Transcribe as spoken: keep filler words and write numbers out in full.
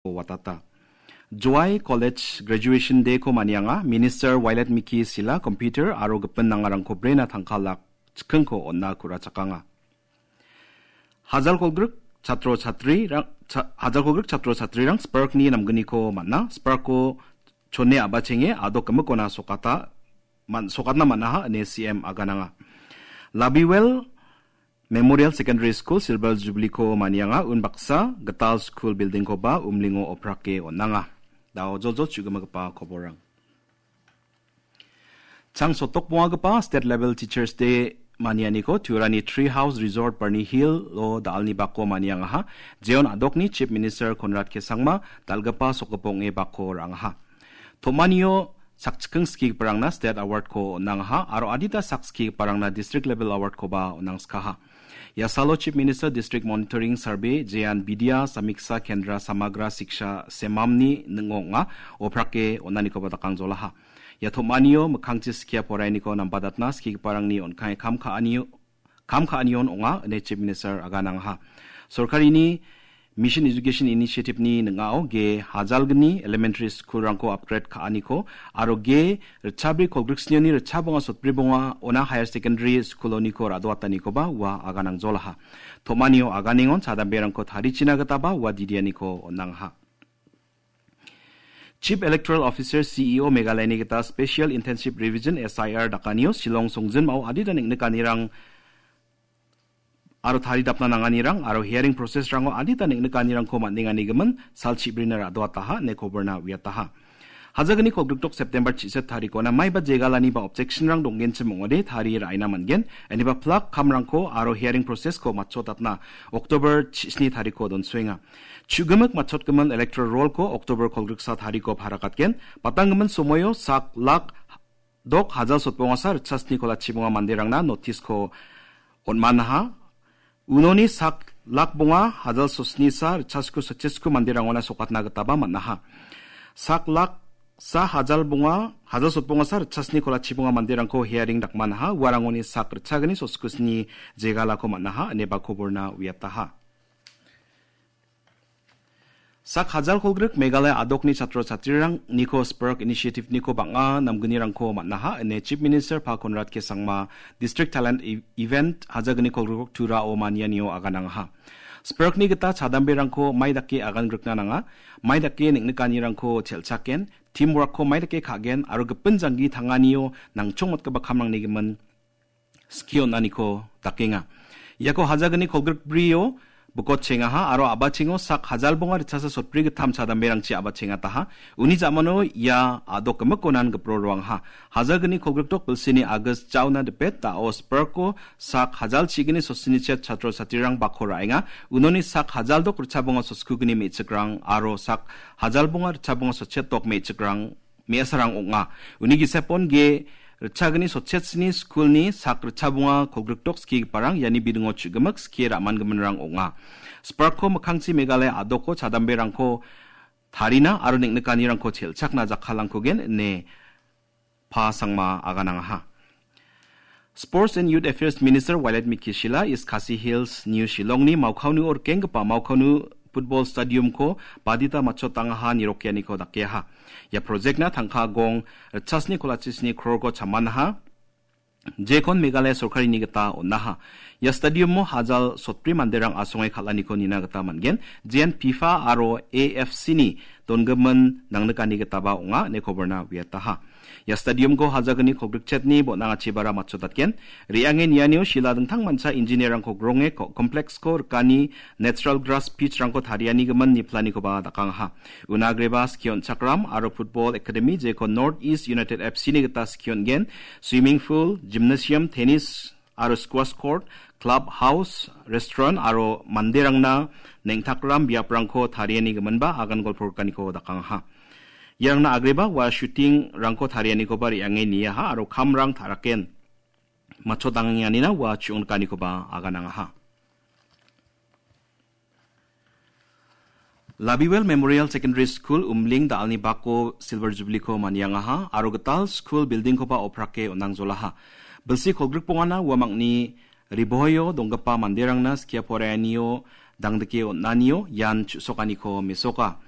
watata. Jowai College Graduation Day-ko manianga, Minister Violet Miki Sila computer aro gipin nangarangko brena tangka lak chikkingko on·a ku·rachakanga. Hajal kolgrik chatro chatrirang, cha-, hajal kolgrik chatro chatrirang Spark-ni namgniko man·a, Spark-ko chone a·bachenge adok gimikona sokata, man-, sokatna man·aha ine C M agananga. Labiwel Memorial Secondary School Silver Jubilee-ko manianga, unbaksa gital skul building-koba umlingo oprake on·anga. Dao joljol chu·gimagipa koborrang. Chang sotokbongagipa State Level Teachers Day manianiko Turani Tree House Resort Barney Hill-o da·alni bako maniangaha, jeon adokni Chief Minister Conrad K Sangma dal·gipa sokgipok ong·e bako ra·angaha. Tom·anio sakchikking skigiparangna State Award-ko on·angaha aro adita sak skigiparangna District Level Award-koba on·angskaha. Ia salo Chief Minister District Monitoring Survey, Jean Vidya Samiksa Kendra Samagra Siksha Semamni ning·o ong·a, oprake on·anikoba dakangjolaha. Ia tom·anio mikkangchi skia poraianiko nambadatna skigiparangni on·kai kam ka·anio, kam ka·anion ong·a, ine Chief Minister aganangaha. Sorkarini Mission Education Initiative-ni ning·ao ge hajalgni elementary school-rangko upgrade ka·aniko aro ge ritchabri kolgriksnioni ritchabonga sotbribonga ona higher secondary school-oniko ra·doatanikoba ua aganangjolaha. Tom·anio aganengon chadamberangko tarichina gitaba ua didianiko on·angaha. Chief Electoral Officer, C E O Meghalayani gita Special Intensive Revision, S I R, dakanio Shillong songjinmao adita neng·nikanirang aro taridapna nanganirang aro hearing process-rango adita neng·nikanirangko man·enganigimin sal chibrina ra·doataha ine koborna uiataha. Hajagni kolgrikdok September chiset tarikona maiba jegalani ba objection-rang donggenchim ong·ode tarie ra·ina man·gen, iniba plak kamrangko aro hearing process-ko matchotatna October chisni tariko donsoenga. Chu·gimik matchotgimin electoral roll-ko October kolgriksa tariko parakatgen, batanggimin somoio sak lak dok hajal sotbongasa ritchasni kolachibonga manderangna notice-ko on·manaha. Unoni sak lak bonga hajal sosnisa ritchasku sotchesku manderangona sokatna gitaba man·aha. Sak lak sa hajal bonga, hajal sotbongasa ritchasni kolachibonga manderangko hearing dakmanaha, uarangoni sak ritchagni soskusni jegalako man·aha, ineba koborna uiataha. Sak hajal kolgrik Meghalaya adokni chatro chatrirangniko Spark Initiative-niko bang·a namgnirangko man·aha, ine Chief Minister Pa Conrad K Sangma District Talent E-, Event hajagni kolgrikok Turao manianio aganangaha. Spark-ni gita chadamberangko mai dake agan grikna nanga, mai dake neng·nikanirangko chelchaken, teamwork-ko mai dake ka·gen aro gipin janggi tanganio nangchongmatgipa kamrangni gimin skie on·aniko dakenga. Iako hajagni kolgrikbrio bikotchengaha aro a·bachengo sak hajal bonga ritchasa sotbri gittam chadamberangchi a·bachengataha. Uni ja·mano ia a·dok gimikko nan gipro roangaha. Hajagni kolgrikdok bilsini August jaona dipet da·o Spark-o sak hajal chigni sosini chet chatro chatrirang bako ra·enga. Unoni sak hajal dok ritchabonga soskugni me·chikrang aro sak hajal bonga ritchabonga sotchet dok me·chikrang me·asarang ong·a. Uni gisepon ge ritchagni sotchetsni skulni sak ritchabonga kolgrikdok skigiparang iani bidingo chu·gimik skie ra·mangiminrang ong·a. Spark-ko mikkangchi Meghalaya a·doko chadamberangko tarina aro neng·nikanirangko chelchakna jakkalangkugen ine Pa Sangma aganangaha. Sports and Youth Affairs Minister Violet Miki Sila East Khasi Hills, New Shillongni Maukaunu-o rikenggipa Maukaunu Football Stadium-ko badita matchotangaha nirokianiko dakeaha. Ia project-na tangka gong ritchasni kolachesni crore-ko chamanaha. Jekon Meghalaya sorkarini gita on·aha. Ia stadium-o hajal sotbri manderang asonge kal·aniko nina gita man·gen. Jean FIFA aro A F C-ni donggimin nangnikani gitaba ong·a ine koborna uiataha. Ia stadium-ko hajagni kolgrikchetni bon·angachibara matchotatgen. Re·ange nianio Sila dingtangmancha engineer-rangko gronge ko-, complex-ko rikani natural grass pitch-rangko tarianigimin niplanikoba dakangaha. Una agreba skie on·chakram aro football academy jeko North East United F C-ni gita skie on·gen. Swimming pool, gymnasium, tennis aro squash court, club house, restaurant aro manderangna neng·takram biaprangko tarianigiminba agan golpo rikaniko dakangaha. Iarangna agreba ua shooting-rangko tarianikoba re·ange niaha aro kamrang ta·raken matchotangenganina ua chu·ongnikanikoba aganangaha. Labiwel Memorial Secondary School Umling da·alni bako Silver Jubilee-ko maniangaha aro gital skul building-koba oprake on·angjolaha. Bilsi kolgrikbongana uamangni ribohoio donggipa manderangna skia poraianio dangdike on·anio ian chu·sokaniko mesoka.